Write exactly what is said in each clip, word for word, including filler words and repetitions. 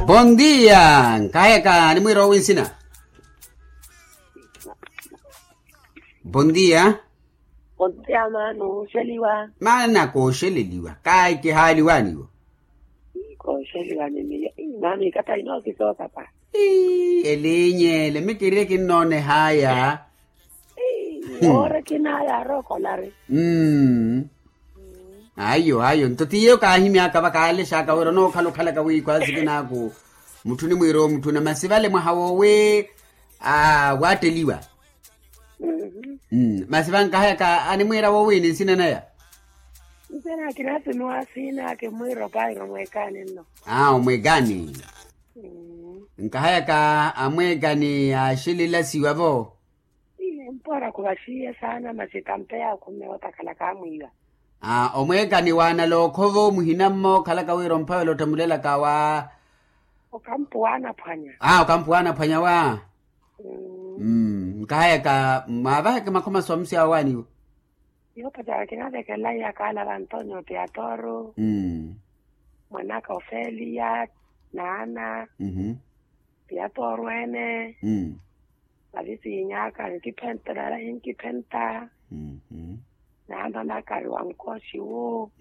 Bondia. Nkahayaka animwiira owi nsina? Bondia. Bondia maana oxeliwa? Maana kooxeleliwa kahi kihaaliwaniwo. Kooxeliwa ni miyo. Maana ikatha inookisooka pa. Elinyele mikirire kinnoonehaya. Woore kinaya arookolari. Ayo ayo nto tiyo kaahimyaka vakaalexaka wira onookhala okhalaka wiikhwa sikinaaku. Mutthu onimwiira omutthuna masi vale mwaha woowi waatteliwa. Masi vankahayaka animwiira woowini nsina naya? Nsina kinaasinuwa siina kimwiira opairo mweekani nno. Aa omweekani. Nkahayaka amweekani yaaxililasiwa vo. Mpora khuvaxiye saana masi tampe yaakhumme otakhala kaamwiiwa. Omweekani waanalookhovo muhina mmo okhalaka wira omphavela ottamulelaka wa? Okampu waanaphwanya. Okampu waanaphwanya wa. Nkahayaka mwaavaheke makhomaso amusi awo waaniwo? Yoopacerya kinavekela iyakaala vantonyo tiatoro. Mwanaka ofeliya naana. Tiatoro ene. Vavisiinyaka nkiphenta nala hinkiphenta. Naamamaka ari wankoxiwu.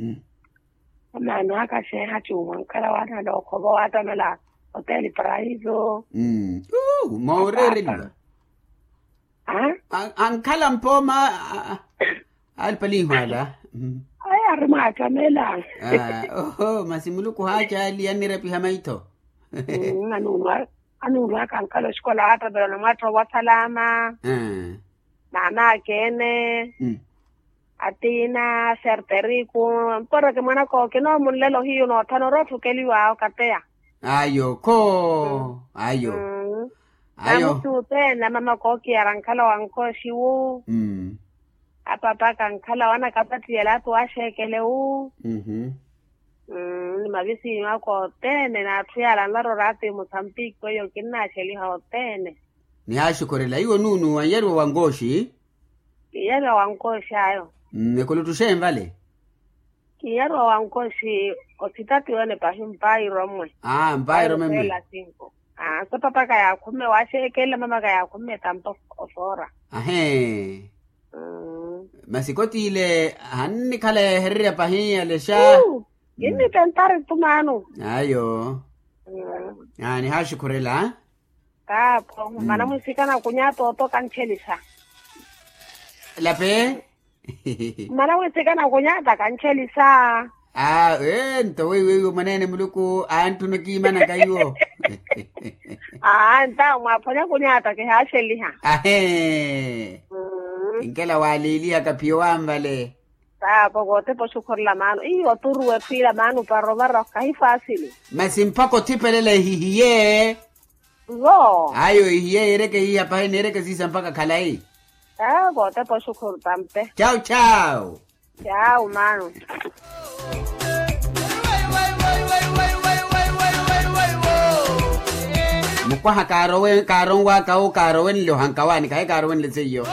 Amaano aka xeeha cuumwa nkhala waanalookhovo waattamela. Oteli parayiso. Mooreereliwa. Ankhala mpooma. Alipaliihwaala. Ayi ari mwaattamela. Oho masi muluku haacaali annirepiha maitho. Anuulwaka ankhala oxikola waattamela onamwaattowa wasalaama. Maamakeene. Atiina serteriku. Mporeke mwanaka okinoomunlela ohiyu noothana ori otthukeliwa okateya. Ayo kho. Ayo. Ayo. Namusi othene amamaka ookiyara ankhala wankooxiwu. Apapaka ankhala wanakapattiyela ati waaxeekele wu. Ni mavisiinyu aka othene n'atthu yaala anlaroora ati musambiki weiyo kinnaaxeliha othene. Nihaaxukhurela iwo nuunu wanyaruwa wankooxi. Kinyariwa wankooxi ayo. Ekuluttuxeeni vale. Kinyariwa wankooxi. Othitatiwene pahi mpairo mmwe. Mpairo mmwe. Aa sapapaka yaakhumme waaxeekela mamaka yaakhumme tampa. Osoora. Ahee. Masi kottiile hannikhala yeehererya pahi yalexa. Kinnitentari tu maano. Ayo. Nihaaxukhurela. Taapho mana mwisikana kunyata oto kantxelisa. Lape. Mana mwisikana kunyata kantxelisa. Aa ee nto weiwo mwaneene muluku antthuna okiimanaka iwo. Aa ntawo mwaaphwanya kunyata kihaaxeliha. Ahee. Kinkela waaliiliyaka phiyo wanvale. Taapho kootepa oxukhurela maano iyo oturuwe phwiira maano para ovara kahi faasili. Masi mpakha othipelela ehihiye. Ayo ehiye yeereke hiiha pahi neereke siisa mpakha khalayi. Taapho kootepa oxukhuru tampe. Chawu chawu. Chawu maano. Mukwaha kaaronwaaka owo kaarowenle ohankawaani kahi kaarowenle seiyo.